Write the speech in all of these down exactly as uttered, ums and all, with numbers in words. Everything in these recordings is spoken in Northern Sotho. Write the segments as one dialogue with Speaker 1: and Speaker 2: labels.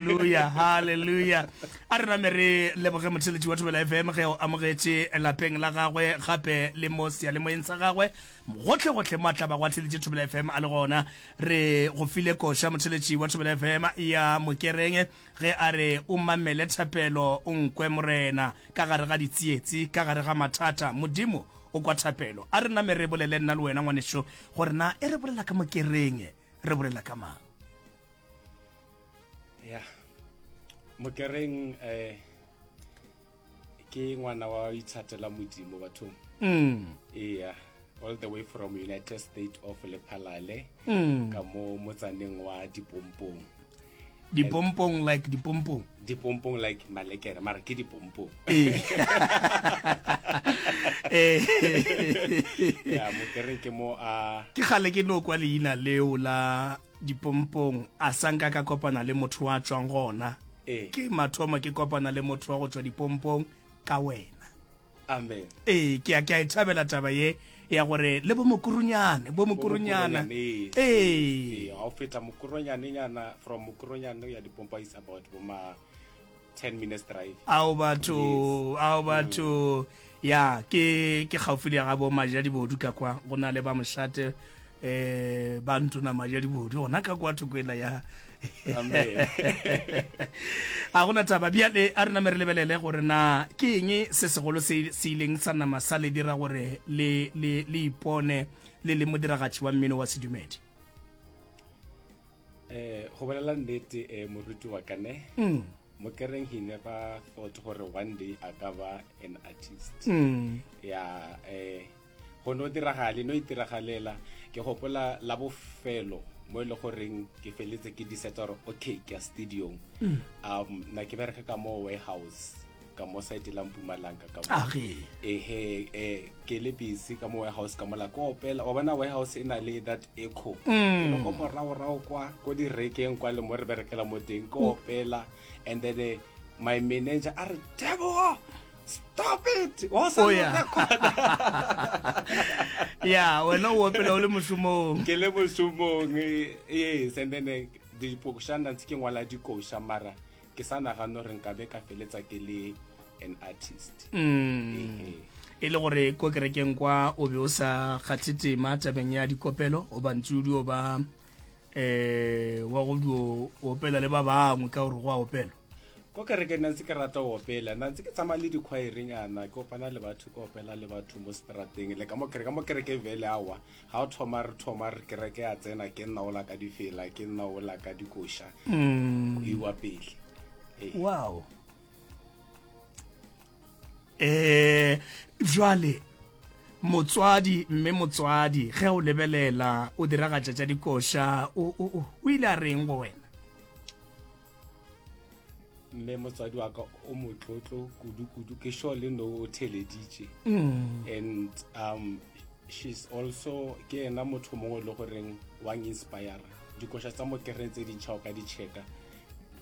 Speaker 1: Haleluya, haleluya. A re name re leboge motheletši wa Thobela F M ge o amogetše lapeng la gagwe gape le mo seyalemoyeng sa gagwe gohle gohle mo a tla bago a theletše Thobela F M a le gona. Re go file koša, motheletši wa Thobela F M, ya Mokereng ge a re o mamele thapelo o nkwe Morena ka gare ga ditsietsi, ka gare ga mathata. Modimo o kwa thapelo. A re name re bolele nna le wena ngwanešo gore na e re bolela ka Mokereng re bolela ka mang.
Speaker 2: Ya, Mokereng eh ke ngwana wa ithatela Modimo bathong.
Speaker 1: Mm.
Speaker 2: Yeah, all the way from United States of Lephalale,
Speaker 1: Mm.
Speaker 2: ka mo motsaneng wa Dipompong.
Speaker 1: Dipompong like dipompong?
Speaker 2: Dipompong like malekere, mara ke dipompong.
Speaker 1: Ee. Eh.
Speaker 2: Ya, Mokereng ke mo a
Speaker 1: Ke gale ke no kwa leina leo la Dipompong, a sa nka ka kopana le motho wa tswang gona.
Speaker 2: Ee.
Speaker 1: Ke mathomo ke kopana le motho wa go tswa Dipompong ka wena.
Speaker 2: Amen.
Speaker 1: Ee, ke a ke a e thabela taba ye ya gore le bo Mokurunyane, bo Mokurunyana.
Speaker 2: Ee.
Speaker 1: Ee.
Speaker 2: Ga o feta Mokuronyane nyana, from Mokuronyane ya Dipompo is about boma ten minutes drive.
Speaker 1: Ao batho, ao batho. Ya, ke ke gaufi le ga bo Majadibodu ka kwa, go na le ba mošate eh ba ntona Majadibodu gona ka kwa thoko ela ya.
Speaker 2: Amen.
Speaker 1: A gona taba. Bjale a re name re lebelele gore na ke eng se segolo se se ileng sa nama sa le dira gore le le le ipone le le modiragatši wa mmino wa sedumedi.
Speaker 2: eh go bolela nnete, eh moruti wa ka ne,
Speaker 1: mm.
Speaker 2: Mokereng he never thought gore one day a ka ba an artist.
Speaker 1: Mm.
Speaker 2: Ya, eh go no diragale, no itiragalela. Ke gopola la bofelo mo e le goreng ke feletse ke decide gore okay, ke ya studiong. um na ke bereka ka mo warehouse ka mo site la Mpumalanga ka mo.
Speaker 1: Age.
Speaker 2: Ehe, eh ke le busy ka mo warehouse ka mola, ke opela. Wa bona warehouse e na le that echo.
Speaker 1: Mm.
Speaker 2: Ke le ko moraorao kwa ko direkeng kwa le mo re berekela mo teng, ke opela, and then eh, my manager a re, "Tebogo, stop it, wa sa
Speaker 1: Oh,
Speaker 2: no
Speaker 1: yeah.
Speaker 2: record."
Speaker 1: Ya, wena o opela o le mošomong.
Speaker 2: Ke le mošomong, eh, yes. And then eh, dikošana ntse ke ngwala dikoša, mara ke sa nagane gore nkabe ka feletsa ke le an artist.
Speaker 1: Mm.
Speaker 2: Ehe.
Speaker 1: E le gore ko kerekeng kwa o be o sa kgathe tema tabeng ya dikopelo, o bantse o dio ba eh wa go dio opela le ba bangwe ka gore go a opelwa?
Speaker 2: Ko kereke nna ntse ke rata go opela, nna ntse ke tsamaya le dikhwaerenyana, ke opana le batho, ke opela le batho mo strateng le ka mo kereke. Ka mo kereke vele awa, ga o thoma re thoma re kereke ya tsena, ke nna ola ka difela, ke nna ola ka dikoša,
Speaker 1: mm.
Speaker 2: go iwa pele. Ee.
Speaker 1: Wow. eh jwale motswadi, mme motswadi ge o lebelela o diragatša tša dikoša, o o o o ile a reng go wena?
Speaker 2: Mme motswadi wa ka o motlotlo kudu-kudu, ke sure le no o theleditše.
Speaker 1: mm.
Speaker 2: And um she's also ke ena motho mongwe le goreng wa inspire. Dikoša tsa Mokereng tse dintšha o ka di checka,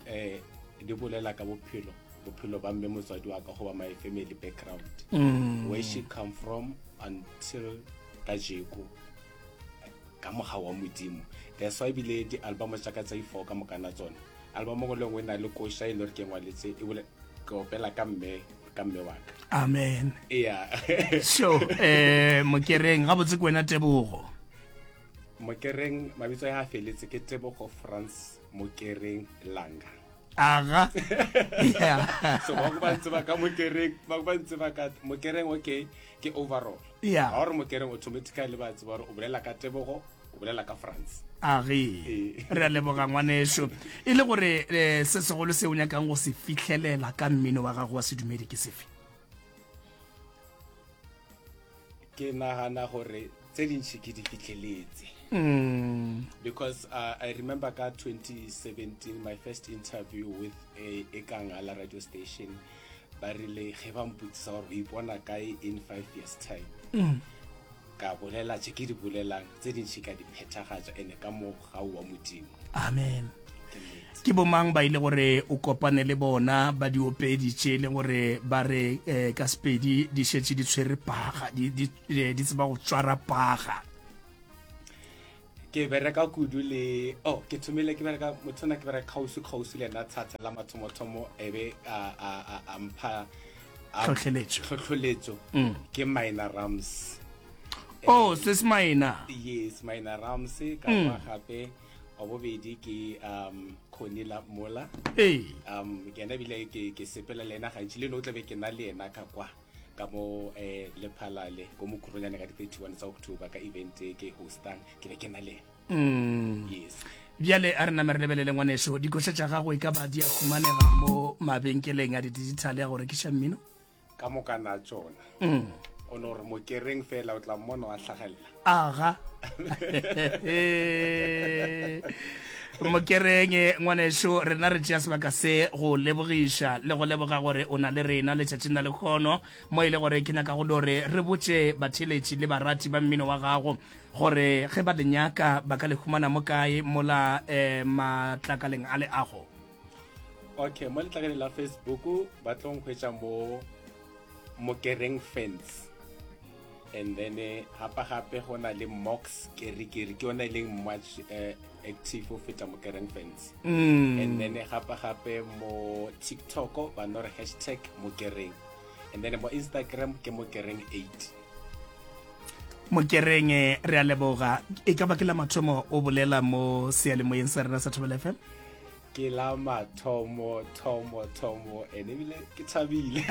Speaker 2: eh di bolela ka bophelo bophelo ba mme motswadi wa ka goba my family background,
Speaker 1: Mm.
Speaker 2: where she come from until kajeko, ka mogau wa Modimo. That's why ebile di-album tša ka tsa i-four ka mokana tsona, album ngwe le nngwe e na le koša e le gore ke ngwaletse e bole ke opela ka mme ka mme wa ka.
Speaker 1: Amen.
Speaker 2: Yeah.
Speaker 1: So eh Mokereng gabotse ke wena Tebogo?
Speaker 2: Mokereng mabitso ya a feletse ke Tebogo France Mokereng Langa.
Speaker 1: Aga, yeah.
Speaker 2: So ba ba ntse ba ka Mokereng, ba ba ntse ba ka Mokereng, okay, ke overall.
Speaker 1: Yeah.
Speaker 2: Ga gore Mokereng, automatically ba tseba gore o bolela ka Tebogo, o bolela ka France.
Speaker 1: Age.
Speaker 2: Ee.
Speaker 1: Re a leboga ngwaneso. E le gore eh, se segolo se o nyakang go se fitlhelela ka mmino wa gago wa sedumedi ke sefe?
Speaker 2: Ke nagana gore tse dintšhi ke di fitlheletse,
Speaker 1: mm.
Speaker 2: because uh, I remember ka twenty seventeen my first interview with a Ekangala radio station, ba rile ge ba mpotsisa gore o ipona kae in five years time,
Speaker 1: Mm.
Speaker 2: ka bolela tše ke di bolelang, tse dintšhi ka di phethagatša, ene ka mogau wa Modimo.
Speaker 1: Amen.
Speaker 2: Ke nnete.
Speaker 1: Ke bomang ba ile gore o kopane le bona ba diopedi tše e le gore ba re eh, ka Sepedi di šetše di tshwere paga, di, di, eh, di tseba go tswara paga?
Speaker 2: Ke bereka kudu le, oh, ke thomile ke bereka, motho ona ke bereka kgauswi kgauswi le yena thata la mathomothomo, e be a, a, a, a mpha, a-
Speaker 1: Tlhohleletšo.
Speaker 2: Tlhohleletšo. Ke Minor Rams.
Speaker 1: Oh, sis Minor.
Speaker 2: Yes, Minor Rams, ka kwa gape, wa bobedi ke, um, Connie Mola.
Speaker 1: Ee.
Speaker 2: Um, ke yena ebile ke, ke sepela le yena gantši, le no tlabe ke na le yena ka kwa, ka mo, eh, Lephalale, ko Mokhoronyane ka di thirty-one tsa October, ka event e ke hostang, ke be ke na le yena.
Speaker 1: Mm.
Speaker 2: Yes.
Speaker 1: Bjale a re name re lebelele ngwaneso, dikoša tša gago e ka ba di a humanega mo mabenkeleng a di-digital ya go rekiša mmino?
Speaker 2: Ka moka na tšona.
Speaker 1: Mm.
Speaker 2: O no re Mokereng fela o tla mmona wa hlagelela.
Speaker 1: Aga. Mokereng ngwaneso, rena re tšea sebaka se go lebogiša le go leboga gore o na le rena letšatšing la lekgono, mo e le gore ke nyaka go no re re botše batheeletši le barati ba mmino wa gago gore ge ba le nyaka ba ka le humana mo kae mola, eh, matlakaleng a leago.
Speaker 2: Okay, mo letlakaleng la Facebook ba tlo nkhwetša mo Mokereng Fans. And then, eh, gape gape go na le Mox Kerikeri, ke yona e leng much, eh, active go feta Mokereng Fans.
Speaker 1: Mm.
Speaker 2: And then gape gape mo TikTok ba no re hashtag Mokereng. And then mo Instagram ke Mokereng eight.
Speaker 1: Mokereng, re a leboga. E ka ba ke la mathomo o bolela mo seyalemoyeng sa rena sa Thobela F M?
Speaker 2: Ke la mathomo, thomo, thomo, ene ebile ke thabile.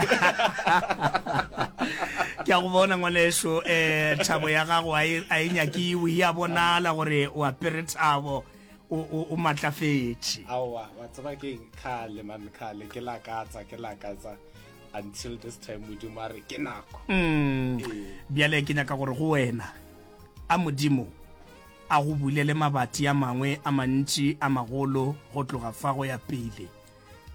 Speaker 1: Ke a go bona ngwaneso, eh, thabo ya gago a e, a e nyakiwe, ya bonala gore o apere thabo, o, o, o matlafetše.
Speaker 2: Aowa, wa tseba keng, kgale man, kgale ke lakatsa, ke lakatsa until this time Modimo a re ke nako.
Speaker 1: Mm.
Speaker 2: Ee.
Speaker 1: Bjale ke nyaka gore go wena, a Modimo a go bulele mabati a mangwe a mantši a magolo go tloga fa go ya pele.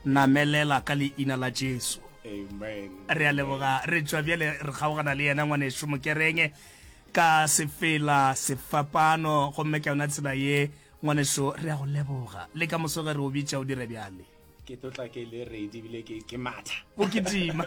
Speaker 1: Namelela ka leina la Jesu.
Speaker 2: Amen.
Speaker 1: Re a leboga, re tšwa bjale re kgaogana le yena ngwaneso Mokereng ka sefela sefapano, gomme ka yona tsela ye ngwaneso re a go leboga. Le ka moso ge re o bitša o dire bjale.
Speaker 2: Ke tlo tla ke le ready ebile ke, ke matha.
Speaker 1: O kitima.